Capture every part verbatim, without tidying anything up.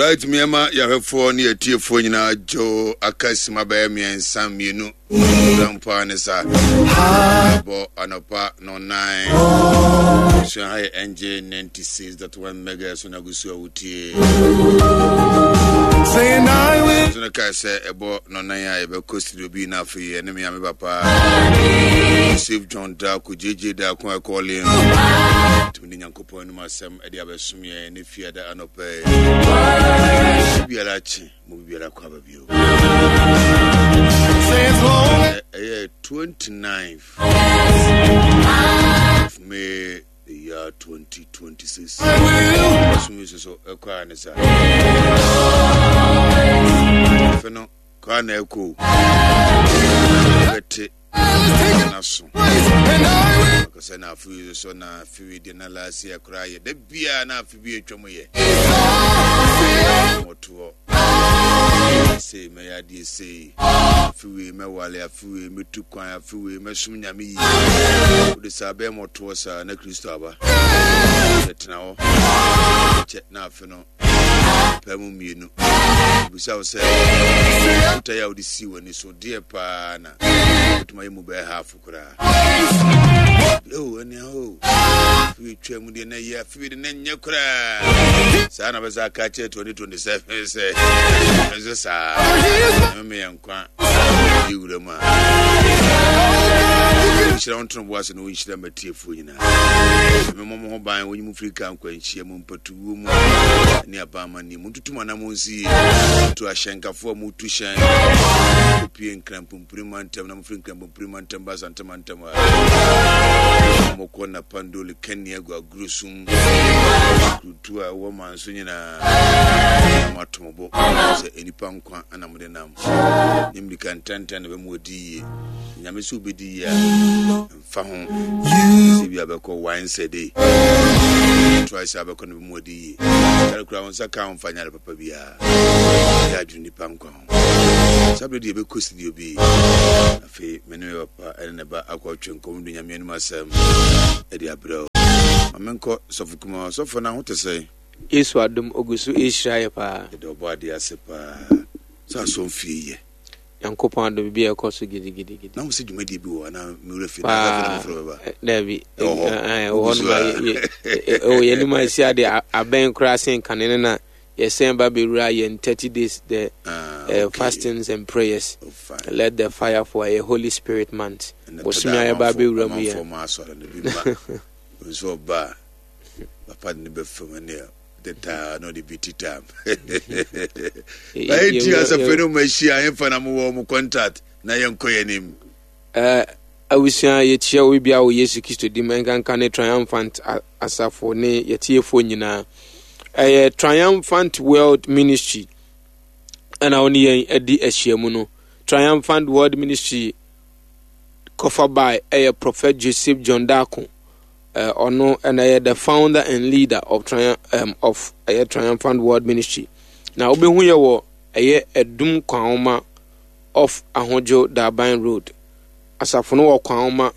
Right, mmeɛma yɛahwɛfoɔ ne yɛtiefoɔ nyinaa dwo aka sima bɛyɛ mmiɛnsa mmienu mpo ne sa bɔ anɔpa nɔnan. Sua ha yɛ N J ninety-six point one mega so na gu so a wotie so no kae sɛ ɛbɔ nɔnan a yɛbɛkɔ studio bi na afei ɛne me ame papa Joseph John Dako J J Dako ɛkɔɔle tumi de Nyankopɔn anom asɛm ɛde abɛsom yɛn ne fiada anɔpɛ biara kye mo biara kɔ aba bio. Ɛyɛ twenty-ninth of May, the year twenty twenty-six. Ɔsom yi so ɛkɔ a ne sa afei no kɔ a na ɛkɔ bɛte naso akasɛ na afe yi so na afe yi deɛ na last year koraa yɛ da biara na afe bi atwa mu yɛ mɔtoɔ sei mɛyɛ adeɛ sei, afe wei mɛwale, afe wei mɛtu kwan, afe wei mɛsom Nyame yie. Wode saa bɛyɛ mɔtoɔ saa na Kristo aba yɛtena hɔ kyɛ na afe no pɛ mu mmienu. Bisa wo sɛ wotae a wode sii w'ani so deɛ paa na wotumi ayɛ mu bɛyɛ half koraa o. Ɛnea o afe twa mu deɛ na ɛyɛ afe de na nyɛ koraa saa na bɛsa aka kyerɛ twenty twenty-seven sɛ ɛnso saa ɛmɛ yɛ nkwa yi wura mu a wonhyira wo ntono bo ase na wonhyira matiefoɔ nyinaa. Memmɔ mo ho ban, wonyi mo firi ka nkwanhyia mu, mpatuwuo mu ne abamanni mu. Ntutu mo anammɔ nsi yie tu ahyɛnkafoɔ a mutu hyɛn kɔpie Nkrampompiri mantam na mofiri Nkrampompiri mantam ba Asante mantam a mokɔ Napandoli kani agu agorɔ sum kurutu a ɛwɔ man so nyinaa na moato mo bo sɛ nnipa nkwa ana mode nam ne mmirika ntɛntɛn na bɛmu ɔdi yie. Nyame sɛ wobɛdi yie a mfa ho sɛ bi a bɛkɔ once a day, twice a bɛkɔ no bɛmu ɔdi yie. Sare kora wo nsa ka wo mfa nyare papa biara yɛ adwene nipa nkwa ho. Saa berɛ deɛ yɛbɛkɔ studio bi afei me ne me papa ɛne ne ba akɔtwe nkɔm de Nyame anim asɛm ɛde abrɛ wo. Ma menkɔ sɔfo kuma. Sɔfo no ho te sɛ? Yesu adom ogu so ɛhyira yɛ paa. Yɛde ɔbɔ adeɛ ase paa sɛ asɔm fie yɛ. Nyankopɔn adom bi a ɛkɔ so gidigidigidi. Na wo sɛ dwumadie bi wɔ anaa mewura fie paa? Daabi, ɛwɔ hɔ nom ɛwɔ yɛnim a ɛsi ade abɛn koraa sen kane no na yɛsɛn ba bɛwura yɛn thirty days, the ah, uh, fastings and prayers. Oh, let the fire for a Holy Spirit month, bosome a yɛba bɛwura mu yɛ. Nso ɔba papa de ne bɛfam ɛneɛ tetaa na ɔde bi titam bɛyɛ ti asafo no mu ahyia ɛmfa na mowɔ mo contact na yɛnkɔ yɛn anim. Abusua, yɛkyia obi bia wɔ Yesu Kristo dim, ɛnkanka ne Triumphant asafo ne yɛtiefoɔ nyinaa. Ɛyɛ Triumphant World Ministry ɛna wo ne yɛn adi ahyiamu no. Triumphant World Ministry kɔfa by ɛyɛ Prophet Joseph John Dako. Ɔno ɛna ɛyɛ the founder and leader of Triumph um, of ɛyɛ Triumphant World Ministry. Na wobɛhu yɛ wɔ ɛyɛ Ɛdum Kwanwoma off Ahodwo Daban Road. Asafo no wɔ Kwanwoma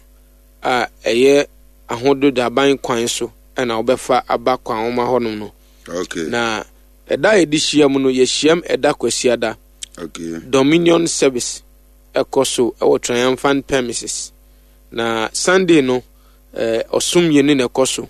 a ɛyɛ Ahodwo Daban kwan so ɛna wobɛfa aba Kwanwoma hɔnom no. Okay. Na ɛda a yɛde hyia mu no, yɛhyiam ɛda Kwasiada. Okay. Dominion service ɛkɔ so ɛwɔ Triumphant premises. Na Sunday no, ɛɛ ɔsom mmienu na ɛkɔ so.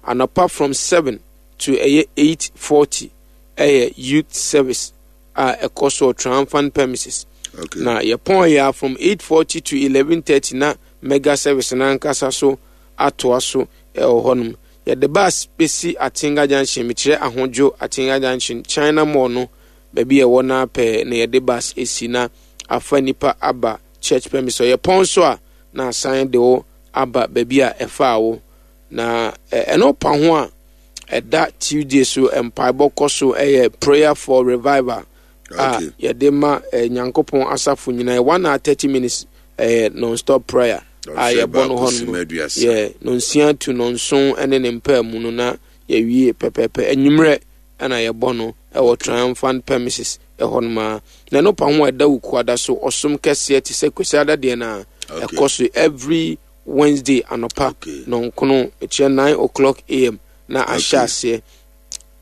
Anɔpa from seven to ɛyɛ eight forty ɛyɛ youth service a ɛkɔ so wɔ Triumphant premises. Okay. Na yɛpɔn yɛ a, from eight forty to eleven thirty na mega service n'ankasa so atoa so ɛwɔ hɔnom. Yɛde bus bɛsi Atenga Junction, mekyerɛ Ahodwo Atenga Junction, China Mall no baabi a ɛwɔ no pɛɛ na yɛde bus esi na afa nipa aba church premise. Yɛpɔn so a na asan de wo aba baabi a ɛfaa wo. Na ɛno pa ho a, ɛda Tuesday so mpaebɔ kɔ so, ɛyɛ prayer for revival a Okay. yɛde ma eh, Nyankopɔn asafo nyinaa, one hour thirty minutes ɛyɛ non stop prayer a yɛbɔ no hɔ no yɛ nonsia to nonson ne ne mpaa mu no na yɛwie pɛpɛɛpɛ. Anwummerɛ ɛna yɛbɔ no ɛwɔ Triumphant premises ɛhɔ nom a. Na ɛno pa ho a, ɛda Wukuada so ɔsom kɛseɛ te sɛ Kwasiada deɛ no a Okay. ɛkɔ so every Wednesday anɔpa Okay. nɔnkono, ɛkyerɛ nine o'clock A M na ahyɛ Okay. aseɛ.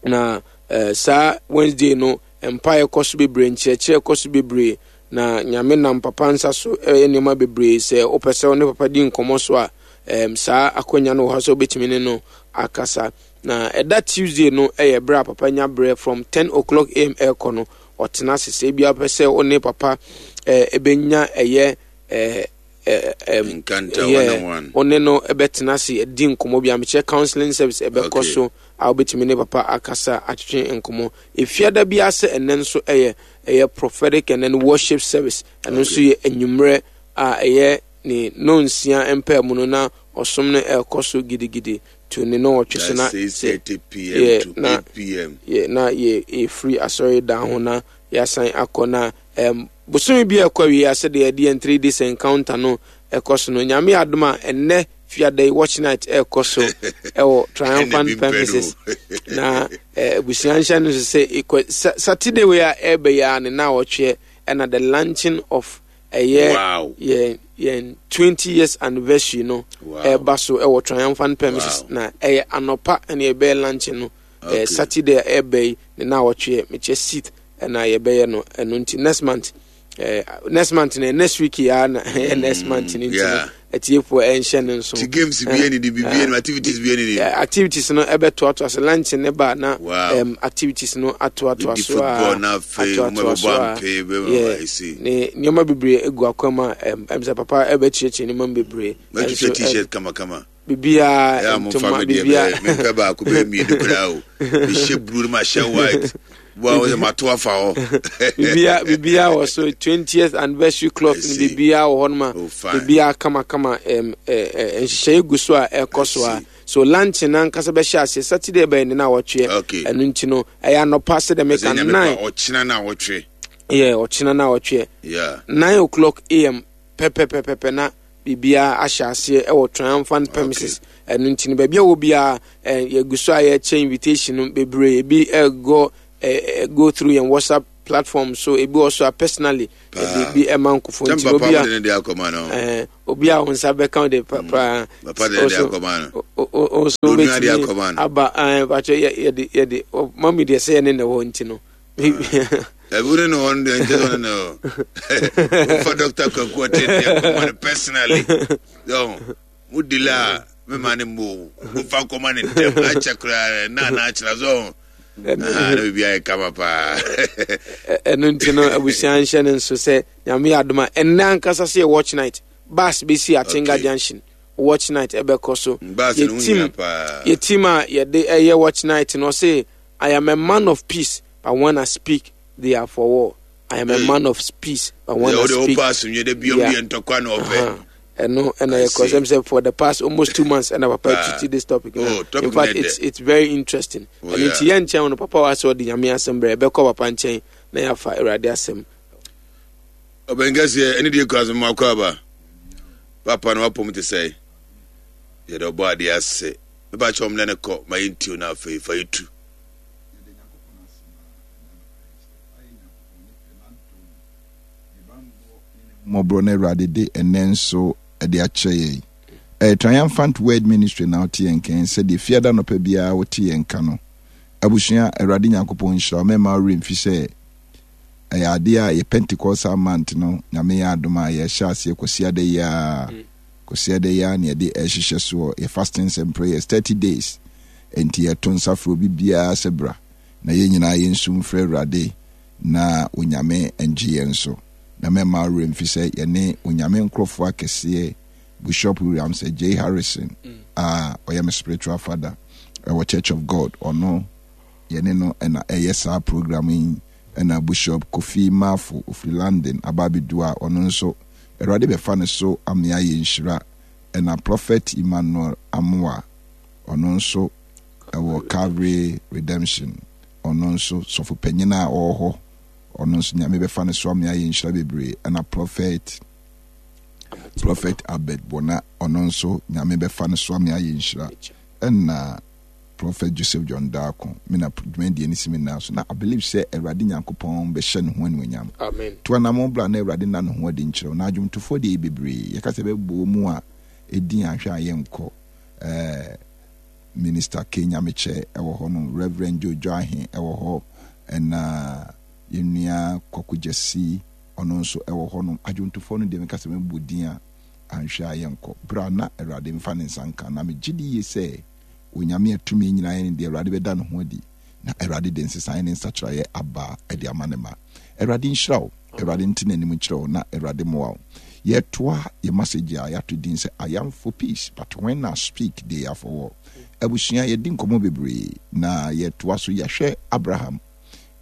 Na Eh, saa Wednesday no, mpaeɛ kɔ so bebree, nkyerɛkyerɛ kɔ so bebree, na Nyame nam papa nsa so ɛyɛ nneɛma bebree. Sɛ wopɛ sɛ wo ne papa di nkɔmmɔ so a, um, saa akwanya no wɔ hɔ sɛ wobɛtumi ne no akasa. Na ɛda Tuesday no ɛyɛ berɛ a papa nya berɛ from ten o'clock A M ɛrekɔ no, ɔtena ase. Sɛ ebia wopɛ sɛ wo ne papa eh, ɛbɛnya ɛyɛ eh, eh, em, Encounter yeah, one on one. Wo ne no ɛbɛtena ase di nkɔmmɔ bi a mekyerɛ counseling service ɛbɛkɔ Okay. so a wobɛtumi ne papa akasa atwetwe nkɔmmɔ. Efiada bi ase ɛnɛ nso ɛyɛ ɛyɛ prophetic and then worship service. Ɛno nso Okay. yɛ anwummerɛ a ɛyɛ ne nonsia mpaa mu no, na ɔsom no ɛrekɔ so gidigidi to ne nɔɔtwe so na That's six thirty p m yeah, to na eight p m yɛ na yɛ yɛfiri asɔre dan ho na yɛasan akɔ. Na um, bosome bi a ɛkɔ awie a, sɛdeɛ yɛde yɛn three days encounter no ɛkɔ so no, Nyame adom a, ɛnnɛ fiada yi watch night ɛrekɔ so ɛwɔ Triumphant premises. Na eh, abusua nhyɛ no so sɛ ekɔ Sa- Saturday wei a ɛreba yi a ne na wɔtweɛ ɛna the launching of ɛyɛ Wow. yɛn yɛn twenty years anniversary no Wow. ɛreba so ɛwɔ Triumphant premises. Wow. Na ɛyɛ anɔpa ɛna yɛbɛyɛ launching no. Okay. eh, saturday a ɛreba yi ne na wɔtweɛ, mekyɛ seat ɛna yɛbɛyɛ no. Ɛno nti next month, eh, next month no, next week yi ara na ɛyɛ next month no. Nti no yeah. atiefoɔ ɛnhyɛ no nso. Ti games bi ani di bibi ani, activities bi ani di. Eh, activities no ɛbɛtoatoa so. Lunch ne ba na Wow. um, activities no atoatoa Bɛdi so football a na afei atoatoa mo so bɛbɔ a ampe, bɛ- yeah, I see. ne nneɛma bebree egu akwam a ɛm ɛm sɛ papa ɛbɛkyerɛkyerɛ nneɛma mu bebree. Mɛtwitwa Ɛnso, ɛ, T-shirt kamakama. Biribiara Ɛyɛ a momfa ntoma me deɛ biribiara bɛyɛ mempɛ baako bɛyɛ mmienu koraa o. Mehyɛ blue no, mahyɛ white boa wo sɛ mato afa hɔ. Biribiara biribiara wɔ so, twentieth anniversary cloth I no see. biribiara wɔ hɔ nom a Oh, fine. biribiara kamakama. ɛm ɛ ɛ nhyehyɛeɛ gu so a ɛkɔ so I a see. So lunch nankasa bɛhyɛ aseɛ Saturday bɛyɛ ne na wɔtweɛ. Okay. Ɛno nti no ɛyɛ anɔpa sɛ dɛ Sɛ meka Nyame nine pa ɔkyena no a wɔtwe. Yɛ ɔkyena na wɔtweɛ Yeah. nine o'clock A M pɛpɛpɛpɛpɛ na biribiara ahyɛ aseɛ ɛwɔ Triumphant premises. Ɛno nti no baabi a wɔ biara, ɛ yɛgu so a yɛkyɛ invitation no bebree. Ebi ɛgɔ ɛ ɛ go through yɛn WhatsApp platform so, ebi wɔ so a personally yɛde bi ɛma nkɔfo. Sɛ Nti no papa obi a mode ne de akɔma no. ɛɛ obi a wɔn nsa bɛka wo de pa paa. Papa de ne de akɔma no. O o o so Onua de wobɛtumi akɔma no. aba ɛɛ bakyɛ yɛ yɛde yɛde ɔ mami deɛ sɛ yɛne na ɛwɔ nti no. Ɛbi wo ne ne hɔ no deɛ nkyɛ sɛ ɔne ne hɔ. Wofa Doctor Kwaku ɔte de akɔma no personally. Yɔ, mo dila a mema ne mmo. Wofa nkɔma ne ntɛm akyɛ koraa na na akyerɛ so. Ah, na biribi ayɛ kama paa. Ɛ- ɛno nti no abusua nhyɛ ne nso sɛ Nyame yɛ adom a, ɛnnɛ ankasa sɛ yɛ watch night, bus bɛsi Atenga Okay. Junction, watch night ɛbɛkɔ so. Bus no Yɛ ho team hia paa. Yɛ team a yɛde ɛyɛ watch night no, ɔse, "I am a man of peace, but when I speak, they are for war." I am a Hey. man of peace, but when Deɛ I wode speak wopɛ asomdwe da biom Yeah. deɛ ntɔkwa na ɔpɛ. Uh-huh. Ɛno ɛna I yɛ kɔ see. sɛm sɛ for the past almost two months ɛna papa Paa. treat this topic. Oh, topic In fact, no it's it's very interesting. Oh, Ɛno yeah. nti yɛn nkyɛn no papa wa sɛ ɔde Nyame asɛm brɛ, ɛbɛkɔ papa nkyɛn na yɛafa Awurade asɛm. Ɔbɛnkɛseɛ ɛne deɛ kura so makɔ aba papa no wapɔm te sɛ yɛde ɔbɔ adeɛ ase. Mepa kyɛ ɔm ne ne kɔ ma yɛntio no, afei fa yɛtu. Mmɔborɔ no Awurade de ɛnɛ nso de akyerɛ yɛn. Ɛyɛ Triumphant Word Ministry na wote yɛn kɛn sɛdeɛ fiada nɔpɛ biara wote yɛn ka no. Abusua, Awurade Nyankopɔn nhyira wo. Mɛma wo werɛ mfi sɛ ɛyɛ adeɛ a yɛ Pentecostal month no, Nyame yɛ adom a, yɛhyɛ aseɛ Kwasiada yi a Kwasiada yi a ne yɛde ɛhyehyɛ soɔ yɛ fastings and prayers thirty days. Enti yɛto nsa frɛ obi biara sɛ bra na yɛn nyinaa yɛnsu mfrɛ Awurade na Onyame ngye yɛn so. Na mɛma wo werɛ mfi sɛ yɛne Onyame nkurɔfoɔ akɛseɛ, Bishop Williams J Harrison a ɔyɛ me spiritual father ɛwɔ Church of God, ɔno yɛne no ɛna ɛyɛ saa program yi, ɛna Bishop Kofi Mafo ofiri London aba abɛdu a ɔno nso Awurade bɛfa ne so amea yɛ nhyira, ɛna Prophet Emmanuel Amoa, ɔno nso ɛwɔ Calvary Redemption, ɔno nso sɔfo panyin a ɔwɔ hɔ, ɔno nso Nyame bɛfa ne so amea yɛ nhyira bebree, ɛna prophet prophet Albert Bona, ɔno nso Nyame bɛfa ne so amea yɛ nhyira, ɛna Prophet Joseph John Darko. Me na dwumadie no si me nan so na I believe sɛ Awurade Nyankopɔn bɛhyɛ ne ho animuonyam. Amen. To anammɔn bra na Awurade nna ne ho adi nkyerɛ wo. Na adwomtofoɔ deɛ yɛ bebree, yɛka sɛ bɛbɔ mu a ɛdin ahwɛ a yɛnkɔ. Ɛɛ, Minister K Nyamekyɛ ɛwɔ hɔ nom, Reverend Joe Joahe ɛwɔ hɔ, ɛna yɛn nua Kwaku Gyasi ɔno nso ɛwɔ hɔ nom. Adwontofoɔ no deɛ meka sɛ mɛbɔ din a anhwɛ a yɛnkɔ. Bra na Awurade mfa ne nsa nka. Na megye di yie sɛ Onyame a tumi nyinaa yɛ ne deɛ, Awurade bɛda ne ho adi, na Awurade de nsesaeɛ ne nsakyeraeɛ aba de ama ne ma. Awurade nhyira wo, Awurade nte n'anim nkyerɛ wo, na Awurade mmoa wo. Yɛtoa yɛ message a yɛato din sɛ I am for peace, but when I speak, they are for war. Abusua, yɛdi nkɔmmɔ bebree, na yɛtoa so. Yɛahwɛ Abraham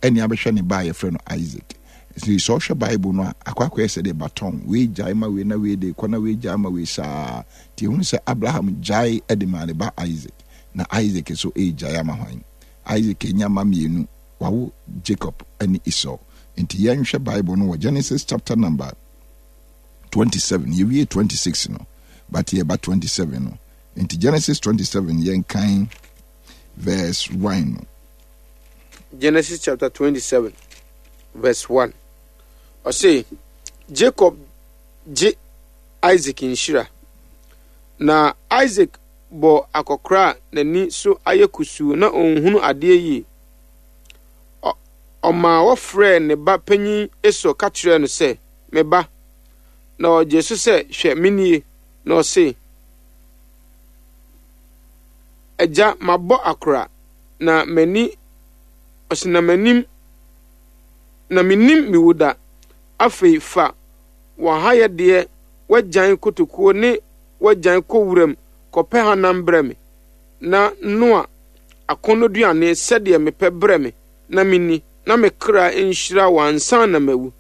ɛne abɛhwɛ ne ba a yɛfrɛ no Isaac. Nti sɛ ɔhwɛ Bible no a, akɔ akɔyɛ sɛ deɛ baton wei gyae ma wei na wei de kɔ na wei gyae ma wei saa. Nti ehunu sɛ Abraham gyae de maa ne ba Isaac, na Isaac nso regyae ama hwan? Isaac anya mma mmienu, wawo Jacob ne Esau. Nti yɛnhwɛ Bible no wɔ Genesis chapter number twenty-seven. Yɛwie twenty-six no, but yɛba twenty-seven no. Nti Genesis twenty-seven, yɛnkan verse one no. Genesis chapter twenty-seven verse one. Ɔse, Jacob gye Isaac nhyira. Na Isaac bɔ akɔkora a n'ani so ayɛ kusuu na ɔnhunu adeɛ yie. Ɔmaa wɔfrɛɛ ne ba panyin Esau ka kyerɛɛ no sɛ, Me ba. Na ɔgyee so sɛ, Hwɛ, menie. Na ɔse, Agya, mabɔ akora, na m'ani, ɔse, na m'anim, na mennim me wu da. Afei fa w'ahayɛdeɛ, w'agyan kotokuo ne w'agyan kɔ wuram kɔpɛ hanam brɛ me, na noa akɔnnɔduane sɛdeɛ mepɛ brɛ me na menni, na me kra nhyira wo ansa na mawu.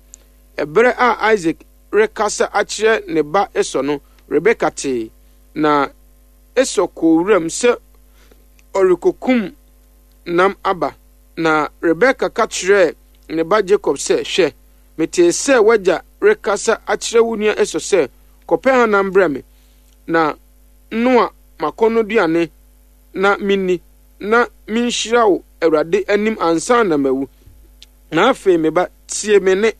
Ɛberɛ a Isak rekasa akyerɛ ne ba Esau no, Rebeka tee. Na Esau kɔɔ wuram sɛ ɔrekɔkum nam aba. Na Rebeka ka kyerɛɛ ne ba Jakob sɛ, Hwɛ, metee sɛ w'agya rekasa akyerɛ wo nua Esau sɛ, 'Kɔpɛ hanam brɛ me, na noa m'akɔnnɔduane na minni, na minhyira wo Awurade anim ansa na mawu. Na afei, me ba, tie me nne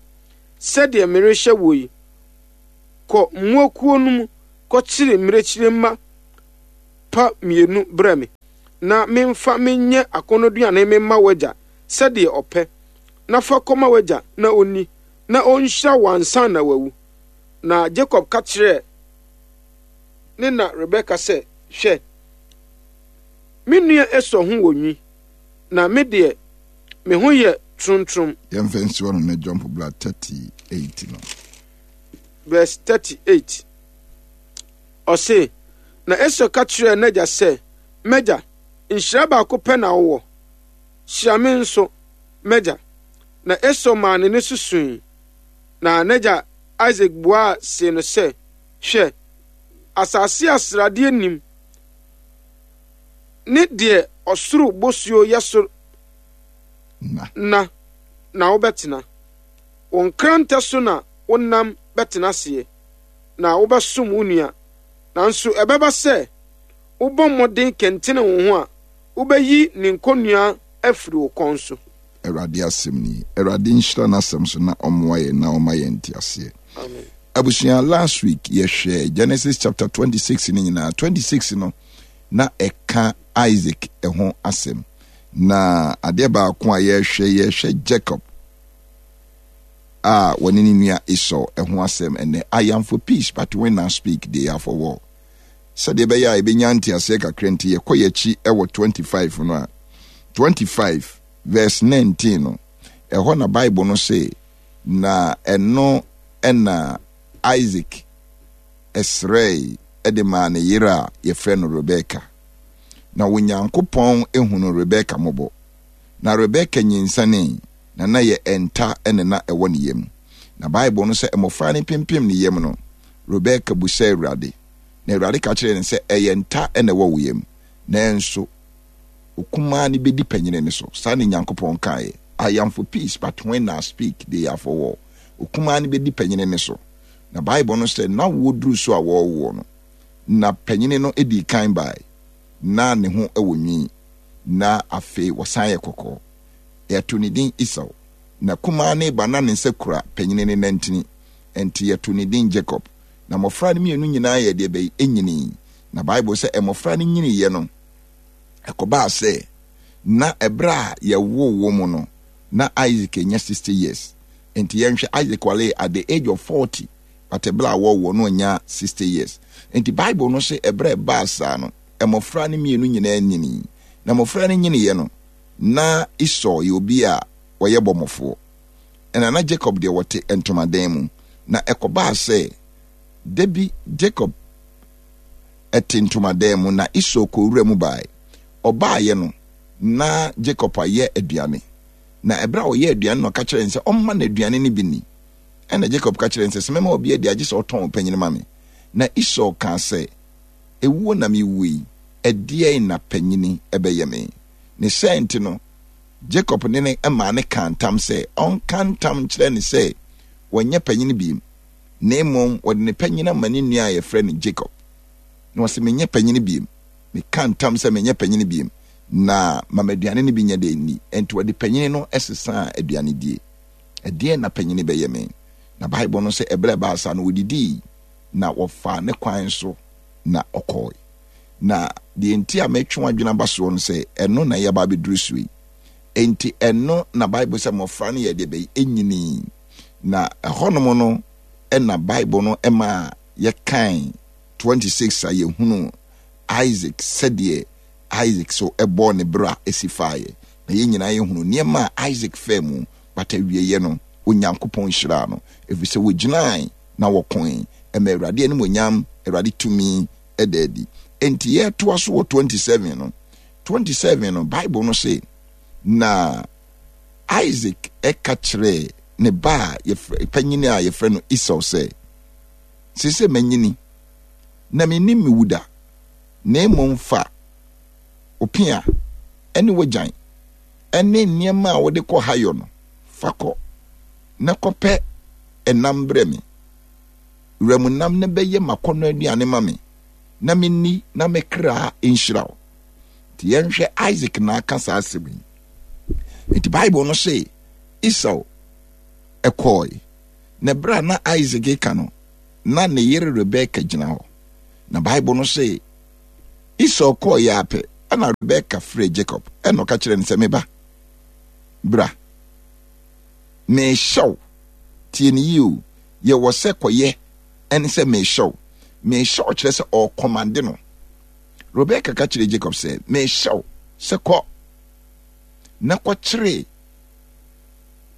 sɛdeɛ merehyɛ woɔ yi. Kɔ mmoakuo no mu kɔkyere mmirekyire mma pa mmienu brɛ me, na memfa menyɛ akɔnnɔduane memma w'agya sɛdeɛ ɔpɛ, na fa kɔma w'agya na ɔnni, na ɔnhyira wo ansa na wawu. Na Jakob ka kyerɛɛ ne na Rebeka sɛ, Hwɛ, me nua Esau ho wɔ nwi, na me deɛ, me ho yɛ trontrom. Yɛmfa nsi hɔ no na jump bra thirty-eight no. Verse thirty-eight. Ɔse, na Esau ka kyerɛɛ n'agya sɛ, M'agya, nhyira baako pɛ na wowɔ? Hyira me nso, m'agya. Na Esau maa ne nne so sui. Na n'agya Isak buaa see no sɛ, Hwɛ, asase a sradeɛ nnim, ne deɛ ɔsoro bosuo yɛ so na na wobɛtena. Wo nkrantɛ so na wonam bɛtena aseɛ, na wobɛsom wo nua. Nanso ɛbɛba sɛ, wobɔ mmɔden kɛntene wo ho a, wobɛyi ne nkɔnnua afiri wo kɔn so. Awurade asɛm ni. Awurade nhyira n'asɛm so na ɔmmoa yɛn na ɔma yɛn nteaseɛ. Amen. Abusua, last week yɛhwɛ Genesis chapter twenty-six no nyinaa. twenty-six no na ɛka Isaac ho asɛm. Na adeɛ baako a yɛhwɛ, yɛhwɛ Jacob a wɔne ne nua Esau ho asɛm ɛnɛ. I am for peace, but when I speak, they are for war. Sɛdeɛ ɛbɛyɛ a yɛbɛnya nteaseɛ kakra nti, yɛkɔ yɛakyi wɔ twenty-five no a, twenty-five verse nineteen no, ɛhɔ na Bible no se, na ɛno ɛna Isaac srɛe de maa ne yere a yɛfrɛ no Rebeka. Na Onyankopɔn hunu Rebeka mmɔbɔ. Na Rebeka nyinsɛnee, na na yɛ ɛnta ne na ɛwɔ ne yam. Na Bible no sɛ mmɔfra no pempem ne yam no, Rebeka busaa Awurade. Na Awurade ka kyerɛɛ no sɛ, ɛyɛ nta na ɛwɔ wo yam, nanso okumaa no bɛdi panyini no so. Saa na Nyankopɔn kaeɛ. I am for peace, but when I speak, they are for war. Okumaa no bɛdi panyini no so. Na Bible no sɛ, na wɔduru so a wɔrewoɔ no, na panyini no dii kan bae, na ne ho wɔ nwi, na afei wɔsan yɛ kɔkɔɔ. Yɛto ne din Esau. Na kumaa no reba na ne nsa kura panyini no nantini, enti yɛto ne din Jacob. Na mmɔfra no mmienu nyinaa yɛ deɛ bɛyi nyinii. Na Bible sɛ mmɔfra no nyiniiɛ no, Ɛkɔbaa sɛ na ɛberɛ a yɛwoo wɔ mu no, na Isaac anya sixty years. Nti yɛnhwɛ, Isaac waree at the age of forty, but ɛberɛ a wɔwɔ no ɔnya sixty years. Nti Bible no sɛ ɛberɛ a ɛbaa saa no, mmɔfra no mmienu nyinaa nyinii. Na mmɔfra no nyiniiɛ no, na Esau yɛ obi a ɔyɛ bɔmmɔfoɔ, ɛna na Jacob deɛ wɔte ntomadan mu. Na ɛkɔbaa sɛ da bi Jacob te ntomadan mu, na Esau kɔɔ wura mu baeɛ. Ɔbaeɛ no, na Jacob ayɛ aduane. Na ɛberɛ a ɔyɛ aduane no, ɔka kyerɛɛ no sɛ ɔmma no aduane no bi nni. Ɛna Jacob ka kyerɛɛ no sɛ, sɛ mɛma obi adi a, gye sɛ ɔtɔn ɔpanyin ma me. Na Esau kaa sɛ, Ewuo na mewu yi, ɛdeɛn na panyini bɛyɛ me? Ne saa nti no, Jacob ne ne maa no kaa ntam sɛ ɔnka ntam nkyerɛ no sɛ wɔnyɛ panyin bio, na mmom wɔde ne panyin ama ne nua a yɛfrɛ no Jacob. Na ɔse, Menyɛ panyin bio. Meka ntam sɛ menyɛ panyin bio, na ma m'aduane no bi nyɛ dɛ nni. Enti wɔde panyin no sesaa aduane die. Ɛdeɛn na panyin bɛyɛ me? Na Bible no sɛ ɛberɛ a ɛbaa saa no, wɔdidii na wɔfaa ne kwan so na ɔkɔe. Na deɛ nti a metwe w'adwene aba soɔ no sɛ ɛno na yɛaba abɛduru soɔ yi. Enti ɛno na Bible sɛ mmɔfra no yɛ deɛ bɛyi ɛnyini. Na ɛhɔnom no ɛna Bible no ɛma yɛkan twenty-six a yɛhunu Isaac sɛdeɛ Isaac so ɛbɔɔ ne bra ɛsi faeɛ. Na yɛn nyinaa yɛhunu nneɛma a Isaac faa mu, but awieeɛ no Onyankopɔn hyiraa no, ɛfiri sɛ wɔgyinae na wɔkoe ɛma Awurade animuonyam, Awurade tumi ɛda adi. Enti yɛtoa so wɔ twenty-seven no. twenty-seven no, Bible no se, na Isaac ɛka kyerɛɛ ne ba a yɛfrɛ, panyini a yɛfrɛ no Esau sɛ, seesei manyini, na mennim me wuda, na mmom fa wo pea ne w'agyan ne nneɛma a wode kɔ hayɔ no, fa kɔ, na kɔpɛ ɛnam brɛ me. Wuram nam no bɛyɛ m'akɔnnɔ aduane ma me, na menni na me kra nhyira wo. Nti yɛnhwɛ, Isaac na aka saa asɛm yi. Nti Bible no se Esau ɛkɔɔe, na berɛ a na Isaac reka no, na ne yere Rebeka gyina hɔ. Na Bible no se Esau kɔɔeɛ ara pɛ, ɛna Rebeka frɛɛ Jacob, ɛna ɔka kyerɛɛ no sɛ, me ba, bra, mehyɛ wo, tie ne yie o, yɛwɔ sɛ kɔyɛ ɛne sɛ mehyɛ wo. Mehyɛ wo kyerɛ sɛ ɔrekɔmande no. Rebeka ka kyerɛɛ Jacob sɛ, mehyɛ wo sɛ kɔ na kɔkyere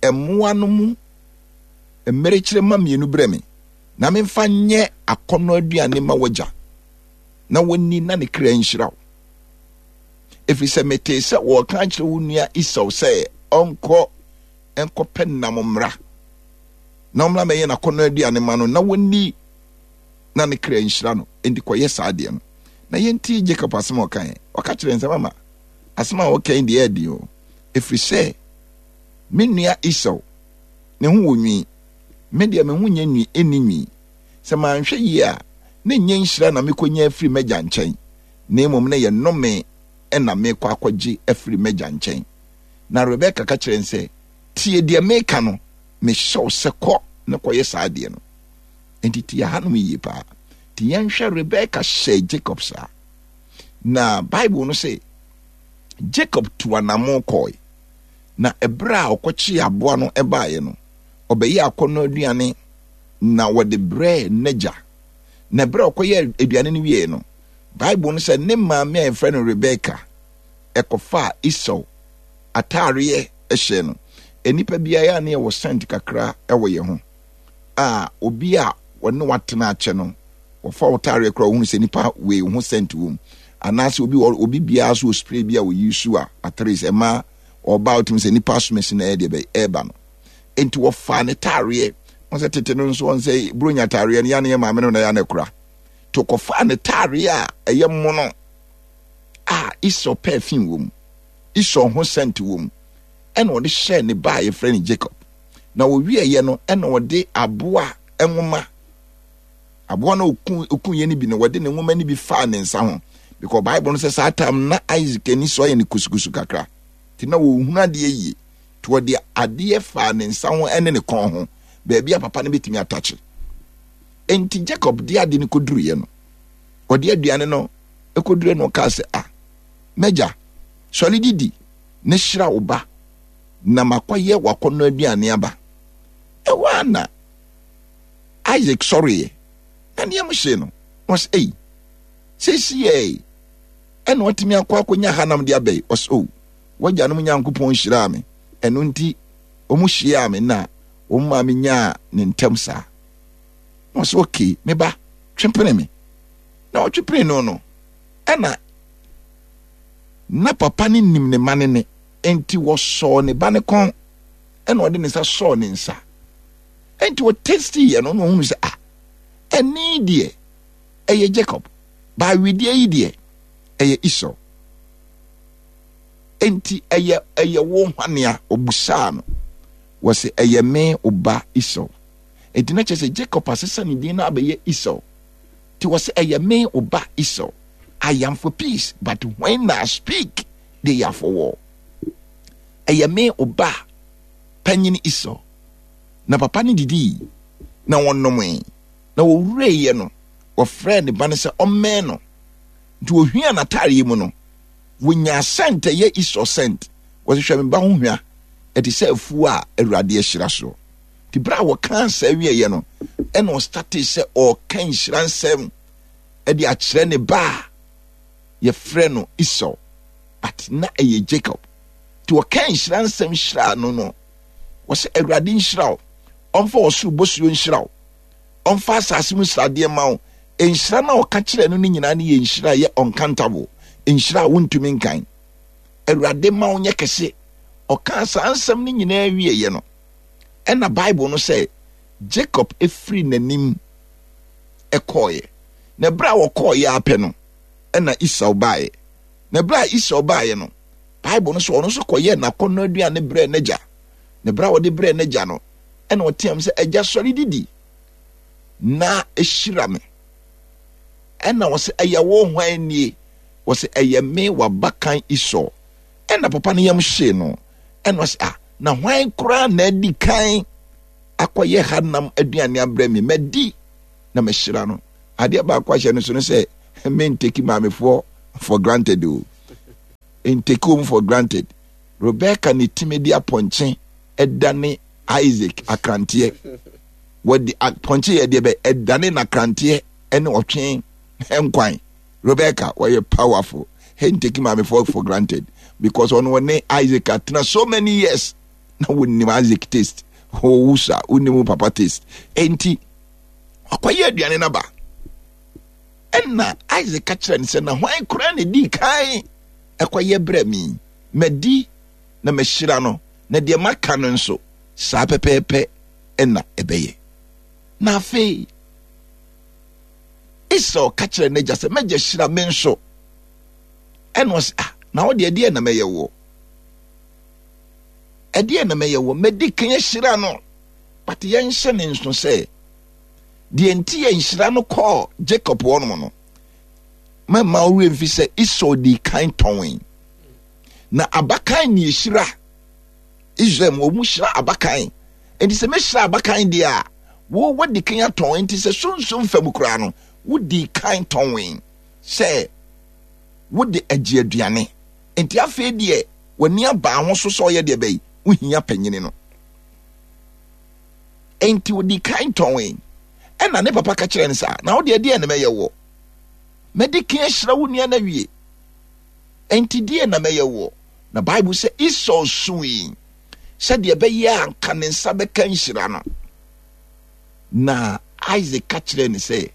mmoa no mu mmerekyerɛ ma mmienu brɛ me, na memfa nyɛ akɔnnɔ aduane ma w'agya, na wɔnni na ne kra nhyira wo. Ɛfiri sɛ metee sɛ wɔreka akyerɛ wo nua Esau sɛ ɔnkɔ nkɔpɛ nam mmra, na ɔmmra mɛyɛ n'akɔnnɔ aduane ma no, na wɔnni na ne kra nhyira no. Enti kɔyɛ saa adeɛ no. Na yɛntie Jacob asɛm a ɔkaeɛ. Ɔka kyerɛ nsɛm ama asɛm a wɔka yi deɛ ɛden o, ɛfiri sɛ me nua Esau ne ho wɔ nwi, me deɛ me ho nyɛ nwi, ɛnni nwi. Sɛ manhwɛ yie a, na ɛnyɛ nhyira na mekɔnya afiri m'agya nkyɛn, na mmom na ɛyɛ nnome na mekɔ akɔgye afiri m'agya nkyɛn. Na Rebeka ka kyerɛ no sɛ, tie deɛ meka no, mehyɛ wo sɛ kɔ na kɔyɛ saa adeɛ no. Enti tie hanom yie paa. Nti yɛnhwɛ, Rebeka hyɛɛ Jacob saa. Na Bible no se, Jacob tu anamo kɔe. Na ɛberɛ a ɔkɔkyee aboa no baeɛ no, ɔbɛyɛɛ akɔnnɔ aduane na wɔde brɛɛ n'agya. Na ɛberɛ a ɔkɔyɛɛ aduane no wieeɛ no, Bible no sɛ ne maame a yɛfrɛ no Rebeka ɛkɔfaa Esau ataareɛ hyɛɛ no. Nnipa biara a ne yɛwɔ scent kakra wɔ yɛn ho a, obi a wɔne watena akyɛ no, wɔfa wo taareɛ koraa wɔhunu sɛ nipa wei ho scent wɔ mu. Anaasɛ obi obi biara so wɔ spray bi a wɔyi su a at least ɛma ɔba wotumi sɛ nipa asomasi na ɛyɛ deɛ bɛyɛ ɛreba no. Enti wɔfaa ne taareɛ. Wɔn sɛ tete no nso wɔn sɛ buronya taareɛ no yɛ ne yɛ maame no na yɛ na kura. To kɔfaa ne taareɛ a ɛyɛ mono a Esau perfume wɔ mu, Esau ho scent wɔ mu, ɛna ɔde hyɛɛ ne ba a yɛfrɛ no Jacob. Na wɔwieeɛ no, ɛna ɔde aboa nwoma, aboa no oku okuiɛ no bi no, wɔde ne nwoma no bi faa ne nsa ho. Because Bible no sɛ saa time na Isaac ani so ayɛ no kusukusu kakra, nti na wɔhunu adeɛ yie. Nti wɔde adeɛ faa ne nsa ho ne ne kɔn ho, baabi a papa no bɛtumi atakye. Enti Jacob de ade no kɔduruiɛ no, ɔde aduane no kɔduruiɛ no, ɔkaa sɛ, ah, M'agya, sɔre didi na hyira wo ba, na makɔyɛ w'akɔnnɔ aduane aba. Ɛhɔ ara na Isaac sɔreeɛ, na ne yam hyee no, na ɔsɛ, Ei, seesei ɛna watumi akɔ akɔnya hanam de aba yi? Ɔsɛ, O, w'agyanom Nyankopɔn hyiraa me, ɛno nti wɔn hyiaa me na wɔn maa me nyaa ne ntam saa. Na ɔsɛ, okay, me ba, twe pene me. Na ɔtwe pene no no, ɛna na papa no nim ne ma no ne, enti wɔsɔɔ ne ba no kɔn, ɛna ɔde ne nsa sɔɔ ne nsa. Enti ɔtesti yɛ no, na ɔhunu sɛ, ah, ɛne deɛ ɛyɛ Jacob, baawedeɛ yi deɛ ɛyɛ Esau. Enti ɛyɛ ɛyɛ wo hwanea? Ɔbusaa no. Wɔse ɛyɛ me wo ba Esau. Enti na kyerɛ sɛ Jacob asesa ne din no abɛyɛ Esau. Nti wɔse ɛyɛ me wo ba Esau. I am for peace, but when I speak, they are for war. Ɛyɛ me wo ba panyin Esau. Na papa no didii na wɔnomee na wɔwureeɛ no, wɔfrɛɛ ne ba no sɛ ɔmmɛn no. Nti wɔhwiaa n'ataareɛ mu no, wɔnyaa sɛnt ɛyɛ Esau sɛnt. Wɔse hwɛ me ba ho hwa, ɛte sɛ afuo a Awurade ahyira soɔ. Nti berɛ a wɔkaa saa wieeɛ no, ɛna ɔstartee sɛ ɔreka nhyira nsɛm de akyerɛ ne ba a yɛfrɛ no Esau, but na ɛyɛ Jacob. Nti ɔka nhyira nsɛm hyiraa no no, wɔsɛ Awurade nhyira wo, ɔmfa ɔsoro bosuo nhyira wo, ɔmfa asase mu sradeɛ ma wo. Nhyira no a ɔka kyerɛ no no nyinaa no yɛ nhyira a ɛyɛ uncountable, nhyira a wontumi nkan. Awurade ma wo nyɛ kɛse. Ɔkaa saa nsɛm no nyinaa wieeɛ no, ɛna Bible no sɛ Jacob firi n'anim kɔeɛ. Na berɛ a wɔkɔeɛ ara pɛ no, ɛna Esau baeɛ. Na berɛ a Esau baeɛ no, Bible no sɛ ɔno nso kɔyɛɛ n'akɔnnɔ aduane brɛɛ n'agya. Na berɛ a ɔde brɛɛ n'agya no, ɛna ɔteam sɛ, Agya, sɔre didi na hyira me. Ɛna ɔsɛ, ɛyɛ wo hwan nie? Wɔsɛ, ɛyɛ me w'abakan Esau. Ɛna papa no yam hyee no. Ɛna ɔsɛ, ah, na hwan koraa na adi kan akɔyɛ ha nam aduane abrɛ me? Madi na mahyira no. Adeɛ baako ahyɛ no so no sɛ, menteki maamefoɔ for granted o. Nteki wɔn for granted. Rebecca ne timi de apɔnkye ɛdane Isaac akranteɛ. Wɔde apɔnkye yɛ deɛ bɛ ɛdane n'akranteɛ ɛne ɔtwe nkwan. Rebecca wɔyɛ powerful. Nteki maamefoɔ for granted because ɔno ɔne Isaac atena so many years na wɔnim Isaac taste. Wɔwu sa wɔnim papa taste. Enti ɔkɔyɛ aduane no aba. Ɛna Isaac ka kyerɛ no sɛ, na hwan koraa na ɛdii kan ɛkɔyɛ brɛ me? Madi na mahyira no, na deɛ maka no nso saa pɛpɛɛpɛ ɛna ɛbɛyɛ. Na afei Esau ka kyerɛ n'agya sɛ, m'agya hyira me nso. Ɛna ɔsɛ, ah, na wo deɛ ɛdeɛ na mɛyɛ woɔ? Ɛdeɛ na mɛyɛ woɔ? Madi kan ahyira no. But yɛnhyɛ ne nso sɛ deɛ nti yɛ nhyira no kɔɔ Jacob hɔnom no, mɛma wo werɛ mfi sɛ Esau dii kan tɔnee. Na abakan ne ɛhyira Israel mu, wɔn hyira abakan. Nti sɛ mɛhyira abakan deɛ a, wo wadi kan atɔn. Nti sɛ sunsum fam koraa no, wodi kan tɔnee sɛ wode agye aduane. Nti afei deɛ w'ani aba ho so sɛ ɔyɛ deɛ bɛyi, wohia panyini no. Enti odi kan tɔnee. Ɛna ne papa ka kyerɛ no saa, na wo deɛ deɛ na mɛyɛ woɔ? Mɛdi kan ahyira wo nua no awie. Enti deɛ na mɛyɛ woɔ? Na Bible sɛ Esau sui sɛdeɛ ɛbɛyɛ a anka ne nsa bɛka nhyira no. Na Isaac ka kyerɛɛ no sɛ,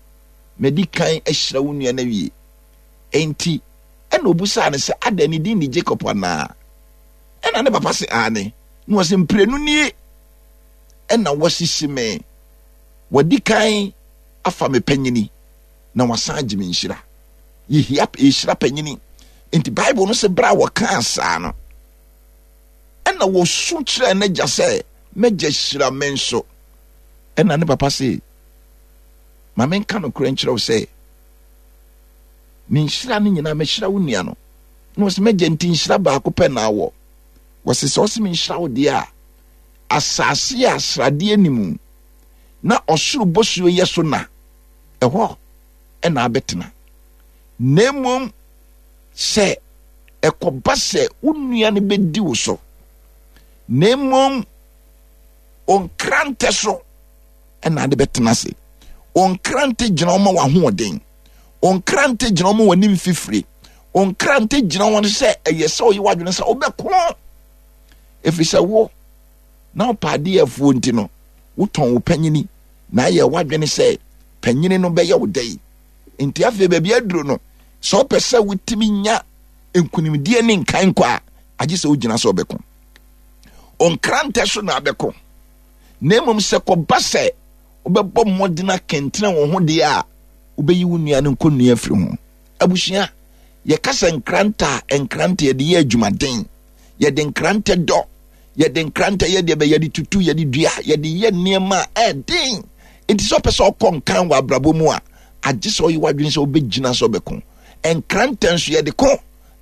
madi kan ahyira wo nua no awie. Enti ɛna obusaa no sɛ, adɛn ne din ne Jacob anaa? Ɛna ne papa se, aane. Na ɔse, mprenu nie ɛna wasisi me. Wadi kan afa me panyini na wasan agye me nhyira. Yɛhia yɛhyira panyini. Nti Bible no sɛ berɛ a wɔkaa saa no, ɛna wɔsu kyerɛɛ n'agya sɛ, m'agya hyira me nso. Ɛna ne papa se, ma menka nokorɛ nkyerɛ wo sɛ, me nhyira no nyinaa mɛhyira wo nua no. Na ɔse, m'agya nti nhyira baako pɛ na awɔ. Wɔse sɛ ɔse menhyira wo deɛ a, asase a sradeɛ ni mu na ɔsoro bosuo yɛ so na ɛhɔ ɛna abɛtena. Na mmom sɛ Ɛkɔba sɛ wo nua no bɛdi wo so, na mmom nkrantɛ so ɛna ade bɛtena ase. Nkrantɛ gyina wɔn ma wɔahoɔden, nkrantɛ gyina wɔn ma wɔn anim fifire, nkrantɛ gyina wɔn sɛ ɛyɛ sɛ ɔyɛ w'adwene sɛ wobɛko, ɛfiri sɛ wo na wopɛ adeɛ afuo nti no wotɔn wo panyini na ayɛ w'adwene sɛ panyini no bɛyɛ wo dɛ. Nti afei baabi aduro no, sɛ wopɛ sɛ wotumi nya nkunimdie ne nkan kɔ a, agye sɛ wogyina sɛ ɔbɛko. Nkrantɛ so na abɛko, na mmom sɛ kɔba sɛ wobɛbɔ mmɔden akɛntene wo ho deɛ a, wobɛyi wo nua no nkɔnnua afiri ho. Abusua, yɛka sɛ nkrantɛ a, nkrantɛ yɛde yɛ adwumaden, yɛde nkrantɛ dɔ, yɛde nkrantɛ yɛ deɛ bɛ, yɛde tutu, yɛde dua, yɛde yɛ nneɛma a ɛden. Nti sɛ ɔpɛ sɛ ɔkɔ nkan wɔ abrabɔ mu a, agye sɛ ɔyɛ w'adwene sɛ wobɛgyina sɛ ɔbɛko. Nkrantɛ nso yɛde ko.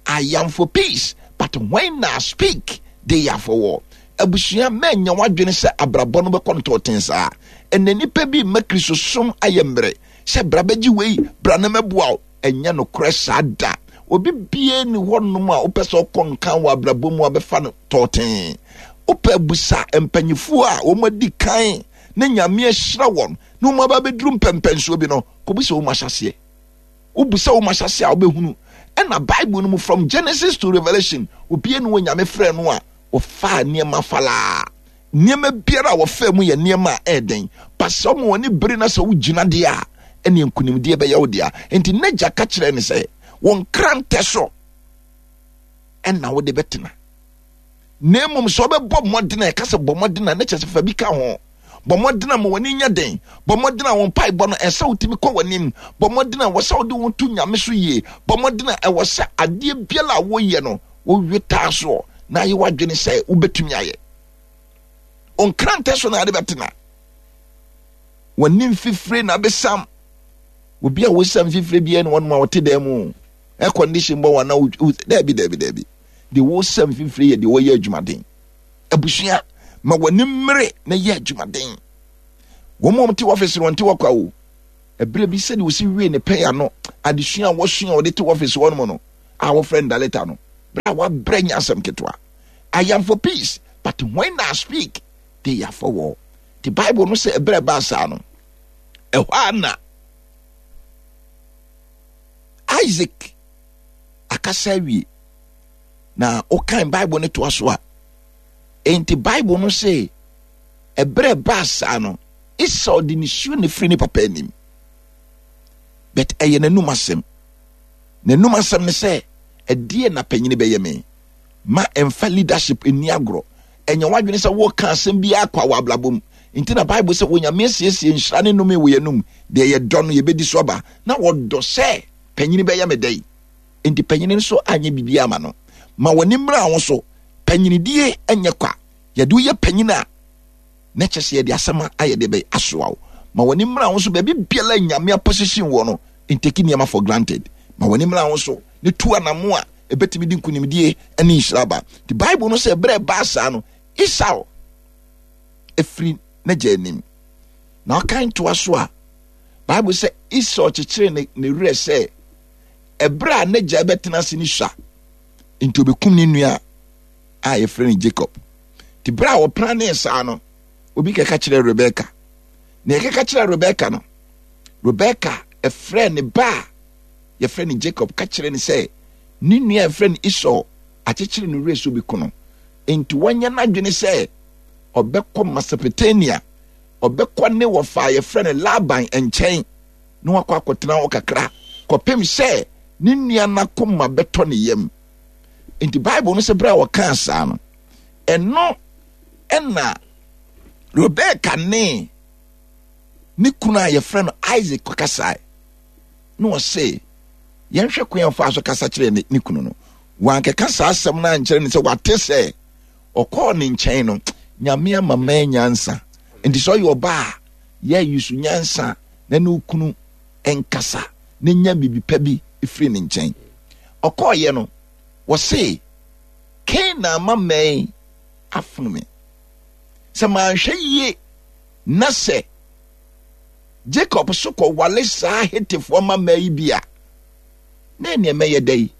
I am for peace, but when I speak, they are for war. Abusua, mɛnyɛ w'adwene sɛ abrabɔ no bɛkɔ ntɔɔten saa. Ɛnna nnipa bi mma Kristosom ayɛ mmerɛ sɛ bra bɛgye wei, bra na mɛboa wo. Ɛnyɛ nokorɛ saa da. Obi bie ni hɔnom a wopɛ sɛ ɔkɔ nkan wɔ abrabɔ mu a bɛfa no tɔɔten. Wopɛ busa mpanyifoɔ a wɔn adi kan na Nyame ahyira wɔn na wɔn aba abɛduru mpɛmpɛnsoɔ bi no, kɔbisa wɔn ahyɛseɛ. Wobisa wɔn ahyɛseɛ a wobɛhunu. Ɛna Bible no mu from Genesis to Revelation, obi ne wɔ Nyame frɛ no a wɔfaa nneɛma falaa. Nneɛma biara a wɔfaa mu yɛ nneɛma a ɛyɛ den. Ba sɛ wɔn ani bere na sɛ wogyina deɛ a, ɛne nkunimdie bɛyɛ wo dea. Nti n'agya ka kyerɛɛ no sɛ, wo nkrantɛ so ɛna wode bɛtena. Na mmom sɛ wobɛbɔ mmɔden a, ɛka sɛ bɔ mmɔden a, ne kyerɛ sɛ fa bi ka ho. Bɔ mmɔden a ma w'ani nyɛ den. Bɔ mmɔden a wo mpaebɔ no ɛsɛ wotumi kɔ w'anim. Bɔ mmɔden a wɔ sɛ wode wo to Nyame so yie. Bɔ mmɔden a ɛwɔ sɛ adeɛ biara a woyɛ no wowe taa soɔ na ayɛ w'adwene sɛ wobɛtumi ayɛ. Nkrantɛ so na ade bɛtena. W'anim fifire na abɛsam. Obi a wosam fifire biara ne wɔnom a wɔte dan mu. Air condition bɔ wɔn na daabi daabi daabi. Deɛ wosam fifire yɛ deɛ wɔyɛ adwumaden. Abusua, ma w'ani mmere na yɛ adwumaden. Wɔn a wɔte ɔfisi no wɔnte hɔ kwa o. Ɛberɛ bi sɛdeɛ wɔsi wie ne pɛn ano adesua a wɔsua a wɔde te ɔfisi hɔ nom no a wɔfrɛ no daleta no, berɛ a wabrɛ nyɛ asɛm ketewa. I am for peace, but when I speak, they are for war. The Bible no sɛ ɛberɛ ɛbaa saa no, ɛhɔ a na Isaac akasa awie. Na wokan Bible no toa so a, enti Bible no se ɛberɛ ɛbaa saa no, Esau de nisuo na firi ne papa anim. But ɛyɛ n'anum asɛm. N'anum asɛm ne sɛ, ɛdeɛ na panyini bɛyɛ me? Ma ɛmfa leadership nni agorɔ. Ɛnyɛ w'adwene sɛ woka asɛm bi akwa wɔ abrabɔ mu. Nti na Bible sɛ Onyame asiesie nhyira ne nnome wɔ yɛnum. Deɛ yɛdɔ no yɛbɛdi so aba. Na wɔdɔ sɛ panyini bɛyɛ me dɛn? Nti panyini nso anyɛ biribi ama no. Ma w'ani mmra wo so. Panyinidie nyɛ kwa. Yɛde woyɛ panyin a, na kyɛ sɛ yɛde asɛm ayɛ de bɛyɛ asoa wo. Ma w'ani mmra wo so. Baabi biara Nyame aposition wɔ no, ntake nneɛma for granted. Ma w'ani mmra wo so ne tu anamo a ɛbɛtumi de nkunimdie ne nhyira aba. The Bible no sɛ ɛberɛ ɛbaa saa no, Esau ɛfiri n'agya anim. Na ɔkan toa so a, Bible sɛ Esau kyekyere ne, ne werɛ sɛ ɛberɛ a n'agya bɛtena ase ne sua nti ɔbɛkum ne nua a yɛfrɛ no Jacob. Nti berɛ a wɔpra ne saa no, obi kɛka kyerɛ Rebeka. Na yɛkɛka kyerɛ Rebeka no, Rebeka ɛfrɛ ne ba a yɛfrɛ no Jacob ka kyerɛ no sɛ ne nua a yɛfrɛ no Esau akyekyere no werɛ sɛ ɔbɛku no. Nti wɔnyɛ n'adwene sɛ ɔbɛkɔ Mesopotamia, ɔbɛkɔ ne wɔfa a yɛfrɛ no Laban nkyɛn na wakɔ akɔtena hɔ kakra kɔpem sɛ ne nua no akoma bɛtɔ ne yam. Nti Bible no sɛ berɛ a wɔkaa saa no, ɛno ɛna Rebeka ne ne kunu a yɛfrɛ no Isaac kɔkasae na ɔse yɛnhwɛ kwan a ɔfaa so kasa kyerɛɛ ne, ne kunu no. Wankɛka saa asɛm no ankyerɛ ne sɛ wate sɛ ɔkɔɔ ne nkyɛn no, Nyame ama maa nyansa. Nti sɛ ɔyɛ ɔbaa a, yɛ yusu nyansa na ne okunu nkasa na nya biribi pa bi firi ne nkyɛn. Ɔkɔɔyɛ no, wɔse Canaan ma mɛn afono me. Sɛ manhwɛ yie na sɛ Jacob so kɔwale saa Hetefoɔ mmammaa yi bi a, na ɛneɛ mɛyɛ dɛ yi?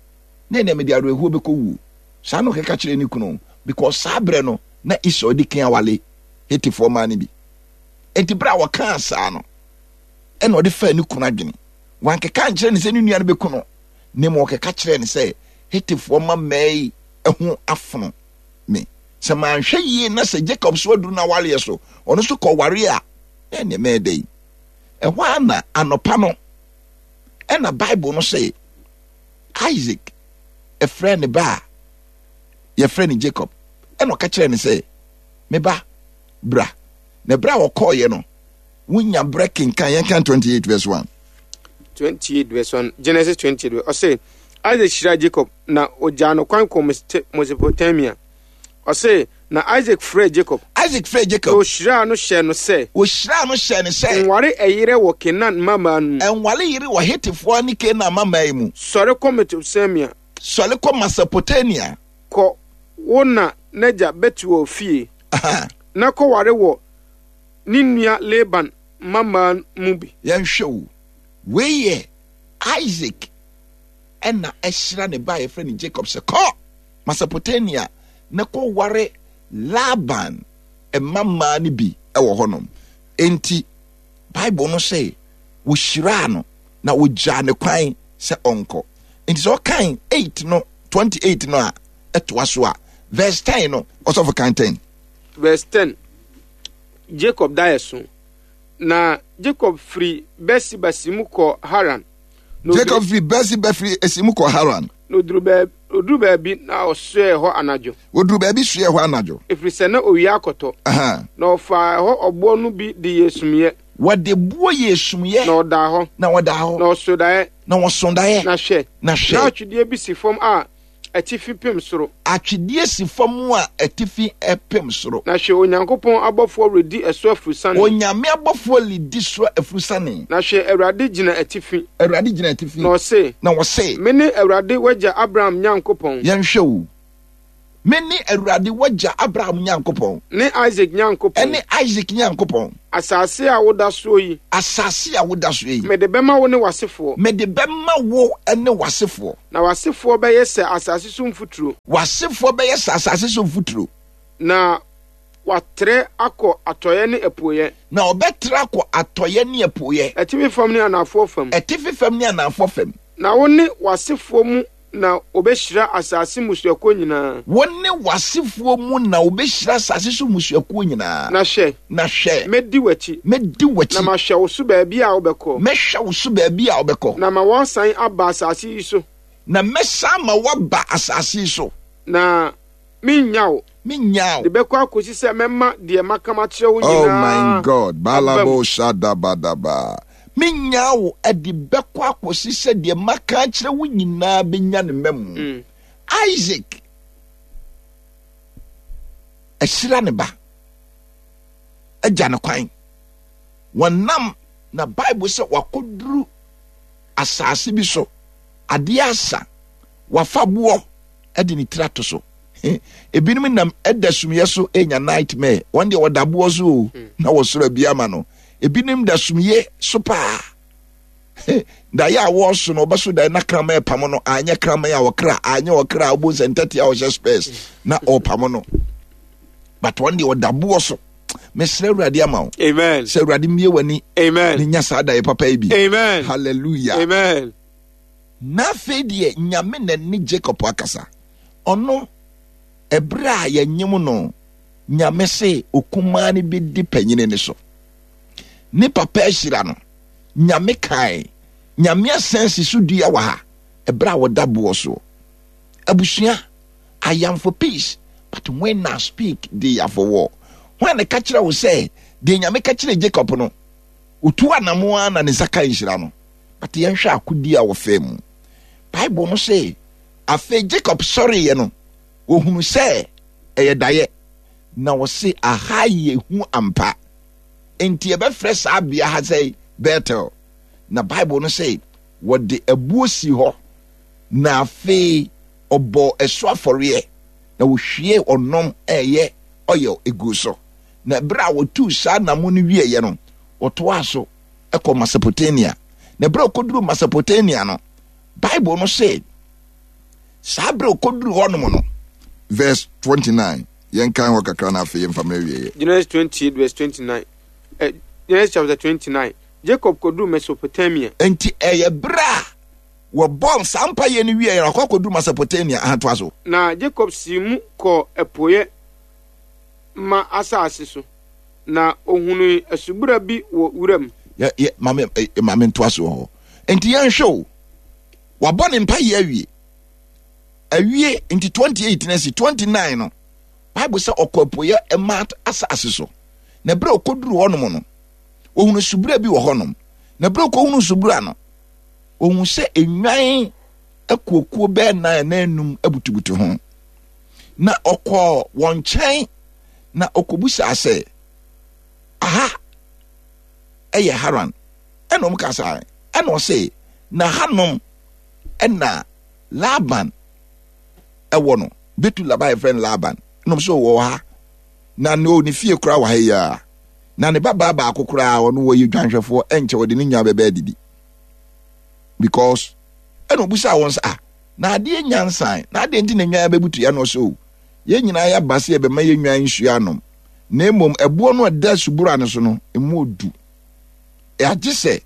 na ɛnɛ mede awerɛhoɔ bɛkɔ wuo. Saa na ɔkeka kyerɛɛ ne kunu, because saa berɛ no na Esau di kan awale Hetifoɔ mmaa no bi. Enti berɛ a wɔkaa saa no, ɛna ɔde faa ne kunu adwene. Wankeka ankyerɛ no sɛ ne nua no bɛku no, na mmom ɔkeka kyerɛɛ no sɛ, Hetifoɔ mma mmaa yi ho afono me. Sɛ manhwɛ yie na sɛ Jacob so aduru n'awareɛ so, ɔno nso kɔware a, na ɛneɛ mɛyɛ dɛn? Ɛhɔ ara na anɔpa no, ɛna Bible no sɛ Isaac ɛfrɛ ne ba a yɛfrɛ no Jacob, ɛna ɔka kyerɛ no sɛ, me ba, bra. Na berɛ a ɔkɔɔeɛ no, wonya berɛ kenkan, yɛnkan twenty-eight verse one. twenty-eight verse one, Genesis twenty-eight, ɔse, Isaac hyiraa Jacob, na ɔgyaa no kwan kɔɔ Mesopotamia. Ɔse, na Isaac frɛɛ Jacob. Isaac frɛɛ Jacob. Na ɔhyiraa no hyɛɛ no sɛ. Ɔhyiraa no hyɛɛ no sɛ. Nware ɛyerɛ wɔ Canaan mmammaa no mu. Nware yere wɔ Hetifoɔ ne Canaan mmammaa yi mu. Sɔre kɔ Mesopotamia. Sɔre kɔ Mesopotamia. Kɔ wo na n'agya Betuel fie. Aha. Na kɔware wɔ ne nua Laban mmammaa mu bi. Yɛnhwɛ o. Wei yɛ Isaac ɛna ɛhyira ne ba a yɛfrɛ no Jacob sɛ kɔ Mesopotamia na kɔware Laban mmammaa no bi wɔ hɔnom. Enti Bible no sɛ wɔhyiraa no na wɔgyaa ne kwan sɛ ɔnkɔ. Enti sɛ ɔkan eight no twenty-eight no a ɛtoa so a verse ten no ɔsɔfo kan ten. Verse ten, Jacob daeɛ so. Na Jacob firi Beer-seba si mu kɔɔ Haran. Jacob firi Beer-seba firi esi mu kɔɔ Haran. Na oduru baabi, oduru baabi na ɔsoɛɛ hɔ anadwo. Oduru baabi soɛɛ hɔ anadwo. Ɛfiri sɛ na owia akɔtɔ. Aha. Na ɔfaa ɛhɔ ɔboɔ no bi de yɛɛ sumiiɛ. Wɔde boɔ yɛɛ sumiiɛ. Na ɔdaa hɔ. Na ɔdaa hɔ. Na ɔsoo daeɛ. Na ɔsoo daeɛ. Na hwɛ. Na hwɛ. Na atwedeɛ bi si fam a atifi pem soro. Atwedeɛ si fam a atifi pem soro. Na hwɛ, Onyankopɔn abɔfoɔ redi ɛso afurusane. Onyame abɔfoɔ redi so afurusane. Na hwɛ, Awurade gyina atifi. Awurade gyina atifi. Na ɔse. Na ɔse. Mene Awurade w'agya Abraham Nyankopɔn. Yɛnhwɛ o. Mene Awurade w'agya Abraham Nyankopɔn. Ne Isak Nyankopɔn. Ne Isak Nyankopɔn. Asase a woda soɔ yi. Asase a woda soɔ yi. Mede bɛma wo ne w'asefoɔ. Mede bɛma wo ne w'asefoɔ. Na w'asefoɔ bɛyɛ sɛ asase so mfuturo. W'asefoɔ bɛyɛ sɛ asase so mfuturo. Na wɔatrɛ akɔ atɔeɛ ne apueeɛ. Na wɔbɛtrɛ akɔ atɔeɛ ne apueeɛ. Atifi fam ne anafoɔ fam. Atifi fam ne anafoɔ fam. Na wo ne w'asefoɔ mu na wɔbɛhyira asase mmusuakuo nyinaa. Wo ne w'asefoɔ mu na wɔbɛhyira asase so mmusuakuo nyinaa. Na hwɛ. Na hwɛ. Mɛdi w'akyi. Mɛdi w'akyi. Na mahwɛ wo so baabi a wobɛkɔ. Mɛhwɛ wo so baabi a wobɛkɔ. Na ma woasan aba asase yi so. Na mɛsan ma woaba asase yi so. Na merennya wo. Merennya wo. De bɛkɔ akɔsi sɛ mɛma deɛ maka makyerɛ wo nyinaa. Oh my God. Balabo shadabadaba. Merennya wo de bɛkɔ akɔsi sɛ deɛ maka akyerɛ wo nyinaa bɛnya ne mmamu. Mm. Isaac ahyira ne ba agya ne kwan. Wɔnam na Bible sɛ wakɔduru asase bi so, adeɛ asa, wafa boɔ de ne tiri ato so. Ebinom nam da sumyɛ so nya nightmare. Wɔn deɛ wɔda boɔ so o, na wɔsoro abi ama no. Ebinom da sumyɛ so paa. Daeɛ a wɔreso no, wɔbɛso daeɛ na kraman repam no, anyɛ kraman a ɔkra, anyɛ ɔkra a wobɛhu sɛ ntɛte a ɔhyɛ spurs na ɔrepam no. But wɔn deɛ ɔda boɔ so. Mesrɛ Awurade ama wo. Amen. Sɛ Awurade mmie w'ani. Amen. Ne nya saa daeɛ papa yi bi. Amen. Hallelujah. Amen. Na afei deɛ Nyame na ne Jacob akasa. Ɔno ɛberɛ a yɛnyem no, Nyame se okumaa no bɛdi panyini no so. Ne papa ahyira no. Nyame kae. Nyame asan si so dua wɔ ha ɛberɛ a wɔda boɔ soɔ. Abusua, I am for peace, but when I speak, they are for war. Hwan na ɛka kyerɛ wo sɛ deɛ Nyame ka kyerɛ Jacob no, otu anamo ara na ne nsa ka nhyira no? But yɛnhwɛ akodie a wɔfaa mu. Bible no se, afei Jacob sɔreeɛ no, wɔhunu sɛ ɛyɛ daeɛ, na wɔse aha yɛ hu ampa. Enti yɛbɛfrɛ saa bea ha sɛ Bethel. Na Bible no se wɔde abuo sii hɔ, na afei ɔbɔɔ ɛso afɔreɛ, na wɔhwiee ɔnom a ɛyɛ oil guu so. Na berɛ a wɔtuu saa namo no wieeɛ no, wɔtoaa so kɔ Mesopotamia. Na berɛ a wɔkɔduruu Mesopotamia no, Bible no se Saa berɛ ɔkɔduru hɔnom no, verse twenty-nine, yɛnkan hɔ kakra na afei yɛmfa mmerɛ wieɛ. Genesis twenty-eight verse twenty-nine. Eh, Genesis chapter twenty-nine. Jacob kɔduru Mesopotamia. Enti ɛyɛ berɛ a wɔbɔɔ saa mpaeɛ no wieɛ no, akɔ akɔduru Mesopotamia. Ahatoa so. Na Jacob sii mu kɔɔ apueɛ ma asase so, na ohunuu asubura bi wɔ wuram. Yɛ yɛ maame eh, maame ntoa so wɔ hɔ. Enti yɛnhwɛ o, wabɔ ne mpaeɛ awie awie nti twenty-eight na si twenty-nine no, Bible sɛ ɔkɔ apueɛ mma asase so, na berɛ a ɔkɔduru hɔnom no, ohunu subura bi wɔ hɔnom. Na berɛ a ɔkɔhunu subura no, ohun sɛ nnwan akuokuo bɛɛ nan anaa enum abutubutu ho. Na ɔkɔɔ wɔn nkyɛn na ɔkɔbusaa sɛ, aha ɛyɛ Haran? Ɛna wɔn ka saa. Ɛna ɔse, na hanom ɛna Laban ɛwɔ no, Betul aba yɛfrɛ no Laban. Ɛna wɔn sɛ ɔwɔ ha, na ne ne fie koraa wɔ ha yi ara, na ne babaa baako koraa ɔno wɔyɛ dwanhwɛfoɔ, ɛnkyɛ wɔde ne nwa bɛbɛ adidi. Because ɛna ɔbusaa wɔn sɛ, ah, na adeɛ nyansan na adeɛ nti na nwan bɛbutu yɛ? No so yɛn nyinaa yɛaba sɛ yɛbɛma yɛn nwan nsuo anom, na mmom ɛboɔ no a ɛda subura no so no emu odu, agye sɛ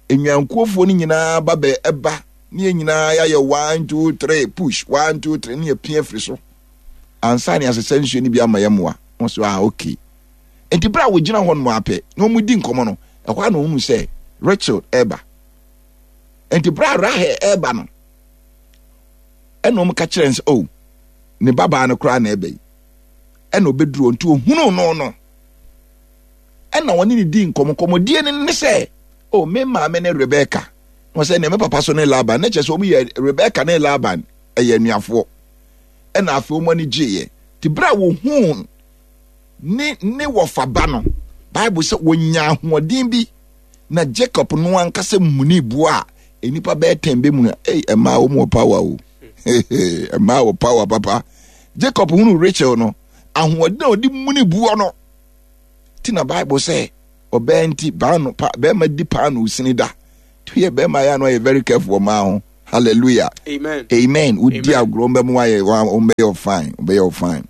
nnwankuofoɔ no nyinaa ba bɛ ɛba ne yɛn nyinaa yɛayɛ one two three push, one two three, ne yɛpia firi so ansa ne asesa nsuo no bi ama yɛn mmoa. Wɔn so, ah, okay. Nti bere a wɔgyina hɔ nom apɛ na wɔn di nkɔmɔ no, ɛhɔ a na wɔn sɛ Rachel ɛreba. Nti bere a Rahel ɛreba no, ɛna wɔn ka kyerɛ no sɛ, oh, ne babaa no koraa na ɛbɛ yi. Ɛna ɔbɛduru, nti ohunu no no ɛna wɔne ne di nkɔmɔ. Nkɔmɔdie no ne sɛ, oh, me maame ne Rebecca, na wɔsɛ ne me papa so ne Laban. Ne kyerɛ sɛ wɔn yɛ Rebecca ne Laban ɛyɛ anuafoɔ. Ɛna afei wɔn ani gyeeɛ. Te bere a wɔhuu ne ne wɔfa ba no, Bible sɛ wɔnya ahoɔden bi, na Jacob no ankasa muni boa a nnipa bɛyɛ tɛn bɛ mu no. Ei, ɛmaa wɔn wɔ power o, ɛmaa wɔ power papa. Jacob hunu Rachel no, ahoɔden a ɔde muni boɔ no ti na Bible sɛ ɔbɛn nti paano pa bɛrima di paano sini da to yɛ bɛrima yɛ ano ayɛ very careful ɔmaa ho. Hallelujah, amen, amen. Wodi agorɔ mbɛ mu ayɛ wɔn bɛyɛ fine, wɔbɛyɛ fine.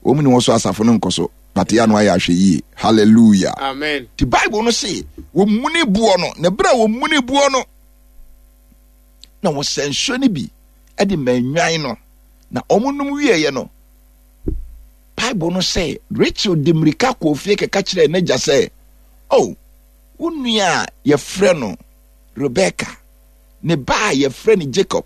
Wɔn ni wɔn so asafo no nkɔ so, but yɛ ano ayɛ ahwɛ yie. Hallelujah, amen. Ti Bible no se wɔn muni boɔ no, na ebere a wɔn muni boɔ no na wɔsɛ nsuo no bi ɛde ma nnwan no, na wɔn nom wieɛ no, Bible no sɛ Rachel de mmirika kɔɔ fie kɛka kyerɛɛ n'agya sɛ, oh, wo nua a yɛfrɛ no Rebecca, ne ba a yɛfrɛ no Jacob